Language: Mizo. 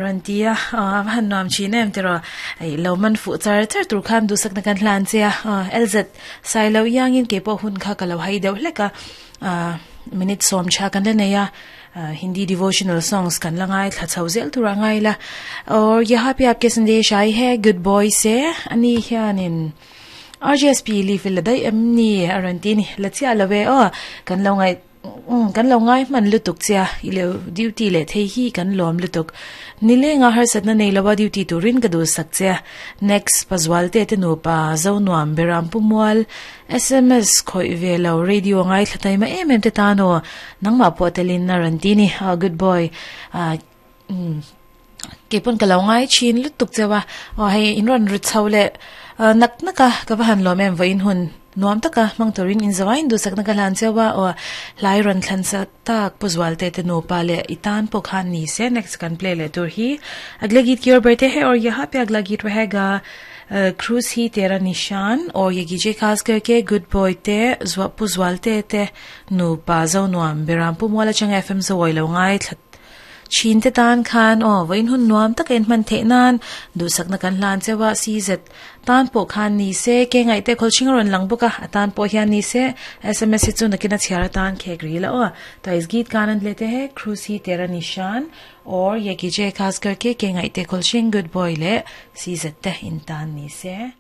Rawn ti a, a va han nuam thin em tiraw? Ih lo man fuh char char tur khan duhsakna kan hlan che a, LZ Sailo iangin kei pawh hun kha ka lo hai deuh hlek a, minute sawm tha kan la nei a, Hindi devotional songs kan la ngai thla chho zel tur a ngai la. Aur yaha pe aapke sandesh aayi hai good boy se ani hianin RGSP leave la daih em ni a rawn ti a ni, la chiah lo e aw kan lo ngaih Umm kan lo ngai hman lutuk che a, i lo duty leh thei hi kan lawm lutuk. Nilenga harsatna nei lo a duty turin ka duhsak che a. Next, Pazualte te nupa Zonuam Beram Pu Mual, sms khawih ve lo radio ngaithla taima em em te tan aw, nangmah pawh telin a rawn ti ni. Ah good boy. Ah umm keipawn ka lo ngai thin lutuk cheu a, aw hei in rawn ri chho leh nak nak a, ka va han lawm em vawiin hun nuam taka hmang turin in zawai in duhsakna ka hlan cheu a, aw hlai rawn thlan sak tak Pu Zualte te nupa leh i tan pawh khan ni se next kan play leh tur hi Agla geet ki or berte hai aur yaha pe agla geet rahega Cruise hi tera nishan aur ye gije khas karke good boy te Pu Zualte te nupa Zonuam Beram Pu Mual atanga FM Zawi lo ngai thla Chhin te tan khan aw vawiin hun nuam taka inhman theih nan duhsakna kan hlan cheu a, CZ tan pawh khan ni se, ke ngaih te khawlhring a rawn lang bawk a, a tan pawh hian ni se, sms hi chu nakin a chhiar atan khek ril a aw. To is geet ka anand lete hai, Cruise hi tera nishan aur ye kiche khas karke ke ngaih te khawlhring good boy leh CZ te in tan ni se.